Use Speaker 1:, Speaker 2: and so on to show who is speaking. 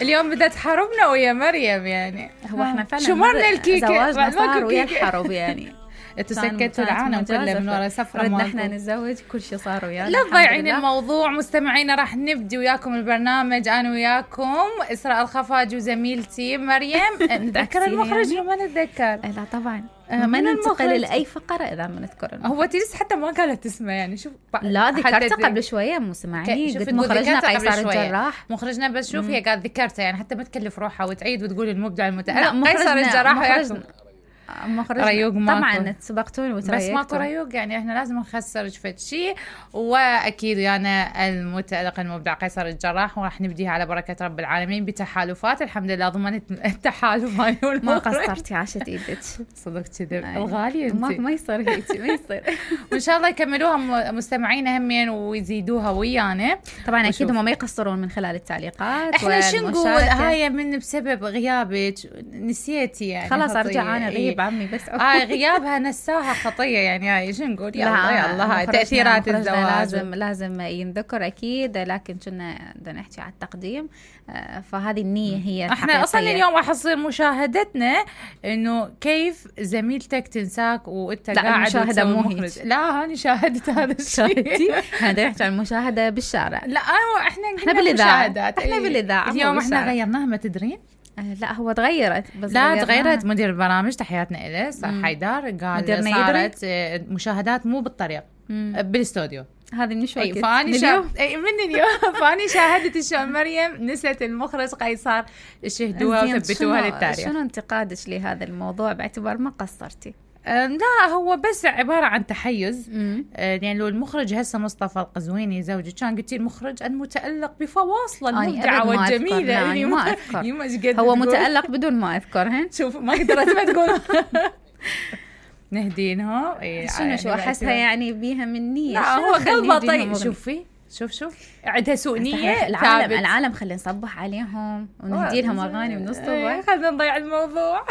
Speaker 1: اليوم بدأت حربنا ويا مريم يعني.
Speaker 2: هو احنا فعلا
Speaker 1: شمرنا الكيكة
Speaker 2: زواجنا صار ويا الحرب يعني.
Speaker 1: انتوا سكتوا العالم كله من ورا سفرة
Speaker 2: ردنا احنا نتزوج كل شيء صار ويانا.
Speaker 1: لا تضيعين الموضوع. مستمعينا راح نبدي وياكم البرنامج انا وياكم إسراء الخفاجي وزميلتي مريم. نتذكر المخرج وما نتذكر؟
Speaker 2: لا طبعا ما ننتقل لاي فقره اذا ما نذكر.
Speaker 1: هو تيس حتى ما قالت اسمه يعني. شوف
Speaker 2: لا ذكرته قبل شويه مسمعيني قلت مخرجنا قيصر الجراح.
Speaker 1: مخرجنا بس شوف هي قالت ذكرته يعني حتى ما تكلف روحها وتعيد وتقول المبدع المتألق قيصر الجراح وياكم ريوق
Speaker 2: طبعا تسبقتوني وتريقتوا
Speaker 1: بس ماكو ريوق يعني احنا لازم نخسر فد شيء. واكيد انا المتألق المبدع قيصر الجراح وراح نبديها على بركه رب العالمين بتحالفات. الحمد لله ضمنت التحالف هاي
Speaker 2: ما قصرتي عاشت ايدك
Speaker 1: صدق كذب الغالي انت
Speaker 2: ما يصير هيك ما يصير.
Speaker 1: وان شاء الله يكملوها مستمعينا همين ويزيدوها ويانا.
Speaker 2: طبعا اكيد هم ما يقصرون من خلال التعليقات.
Speaker 1: احنا شو نقول هاي من بسبب غيابك نسيتي يعني
Speaker 2: خلاص ارجع انا غيب عمي بس
Speaker 1: غيابها نساها خطيه يعني. هاي شو نقول يلا هاي تاثيرات الزواج
Speaker 2: لازم ينذكر اكيد. لكن كنا بدنا نحكي على التقديم فهذه النية هي
Speaker 1: احنا اصلا اليوم راح تصير مشاهدتنا انه كيف زميلتك تنساك وانت قاعد
Speaker 2: مشاهده مو هيك.
Speaker 1: لا هاني شاهدت هذا الشيء.
Speaker 2: احنا نحكي عن المشاهده بالشارع.
Speaker 1: لا احنا بالاذاعه
Speaker 2: احنا بالاذاعه
Speaker 1: اليوم احنا غيرناها ما تدرين.
Speaker 2: لا هو تغيرت بس
Speaker 1: لا تغيرت. مدير البرامج تحياتنا إله صار حيدر قال صارت مشاهدات مو بالطريق بالاستوديو.
Speaker 2: هذه من شوي
Speaker 1: فاني من اليوم فاني شاهدت الشو مريم نسيت المخرج قيصر شهدوها وثبتوها للتاريخ.
Speaker 2: شنو انتقادك لهذا الموضوع باعتبار ما قصرتي؟
Speaker 1: لا هو بس عبارة عن تحيز. يعني لو المخرج هسه مصطفى القزويني زوجي كان قلتي المخرج المتألق بفواصله المبدعة والجميلة
Speaker 2: يعني ما أذكر. هو متألق بدون ما أذكرهن.
Speaker 1: شوف ما قدرت ما تقول نهدينهم.
Speaker 2: شو أحسها يعني بيها من نية.
Speaker 1: لا هو قلبه طيب. شوفي شوف عندها سوء نية.
Speaker 2: العالم خلينا نصبح عليهم ونهدي لهم أغاني ونصطبح.
Speaker 1: خلينا نضيع الموضوع.